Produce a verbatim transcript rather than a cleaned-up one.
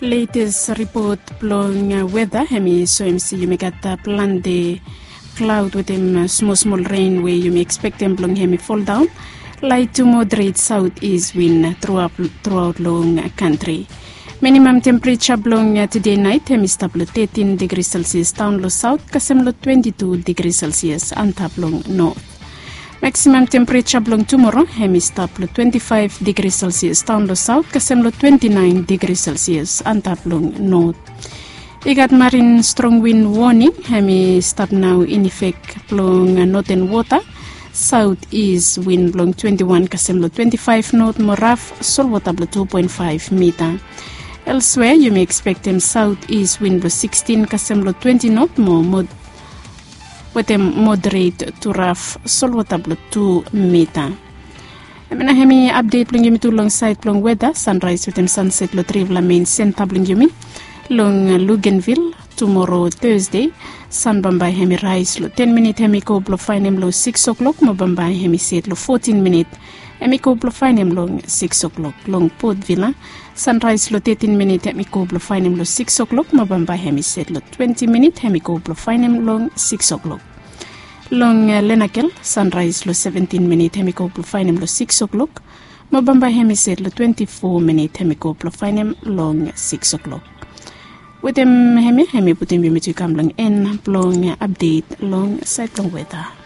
Letes ripot blong weta hem i soem se yumi gat plante klaod wetem smosmol ren we yumi ekspektem blong hem i foldaon. Laet tu moderet saot is win truaot long kantri. Minimam tempereja blong tude naet hem i stap long tetin digri selsias daon long saot kasem long twenti tu digri selsias antap long not. Maksimam tempereja blong tumoro hem i stap long twenti faef digri selsias daon long saot kasem long twenti naen digri selsias antap long not. I gat marin strong win woning hem i stap nao in efek blong noten wota. Saot is win blong twenti wan kasem long twenti faef not mo raf solwota blong tu poen faef mita. Elswea yumi ekspektem saot is win blong sikstin kasem long twenti not mo wetem moderet tu raf solwota blong tu mita. Hem i apdet blong yumi tu long saed blong weta, sanraes wetem sanset long trifala men senta blong yumi. Long lugenvil tumoro, tesde, san bambae hem i raes long ten minit hem i go blong faenem long siks o'klok mo bambae hem i set long fotin minit hem i go blong faenem long siks o'klok. Long potvila, sanraes long tetin minit hem i go blong faenem long siks o'klok mo bambae hem i set long twenti minit hem i go blong faenem long siks o'klok. Long lenakel, sanraes long seventin minit hem i go blong faenem long siks o'klok mo bambae hem i set long twenti fo minit hem i go blong faenem long siks o'klok. Wetem hemia hem i putum yumi tu i kam long en blong apdet long saed blong weta.